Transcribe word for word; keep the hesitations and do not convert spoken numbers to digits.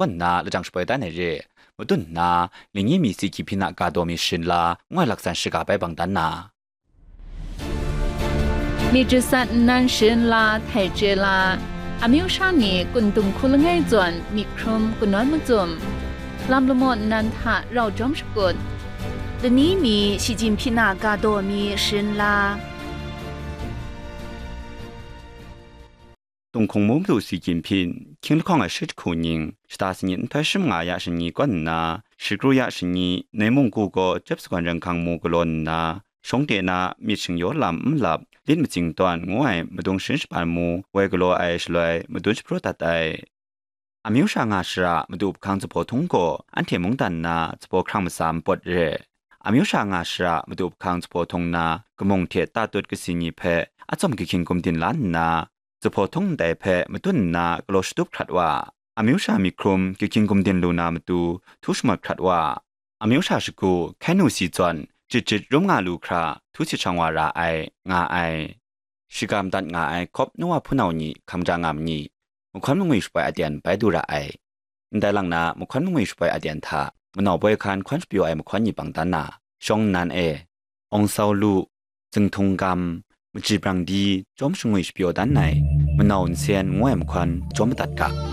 kaw nna lajang shapoi dan ai re. Madun nna, lingyi mi si hkying hpyin a ga daw mi sharin la, ngu ai laksan shiga bai bang dan na. Myit jasat nnan sharin la, htai chye la, amyu sha ni kun dung hku langai zawn myit hkrum kanawn macum, lam lamaw nnan hta rau jawm shakut, lani mi shi jin hpyin a ga daw mi sharin la. Tunghkung Munglu si hkying hpyin, hkying lahkawng ai shi jahku ning, shata sanit nhtoi shi manga ya shani kaw nna, shagru ya shani, Nei Mungku gaw Chyep Sagawn Ren Hkang mu galaw nna, shawng de na myit shingyaw lam n lap, lit matsing tawn ngu ai madung sharin shapan mu woi galaw ai shaloi madun shapraw dat ai. Amyu sha nga shara madu hpung hkang zuphpawt htung gaw anhte mungdan nna zuphpawt hkrang matsa npawt re. Amyu sha nga shara madu hpung hkang zuphpawt htung nna, kamung hte tatut kasi ni hpe atsawm kahkying gumdin la nna, zuphpawt htung ndai hpe madun nna galaw shatup hkrat wa, amyu sha myit hkrum kahkying gumdin lu na matu htu shamawt hkrat wa, amyu sha shagu hkai nu si zawn jit jit rum nga lu hkra htu sit shang wa ra ai, nga ai. Shiga madat nga ai Hkawp Noa hpunau ni hkam ja nga ma ni, mahkawn mangwi shapoi aten bai du ra ai. Ndai lang na mahkawn mangwi shapoi aten hta, manau boi hkan hkawn shapyaw ai mahkawn ni bang dan na, shawng nnan e, Awng Sau Lu, Zinghtung Gam, Maji Brang Di, Chyawm Shangwi shapyaw dan ai, Manau Nsen ngu ai mahkawn jawm madat ga.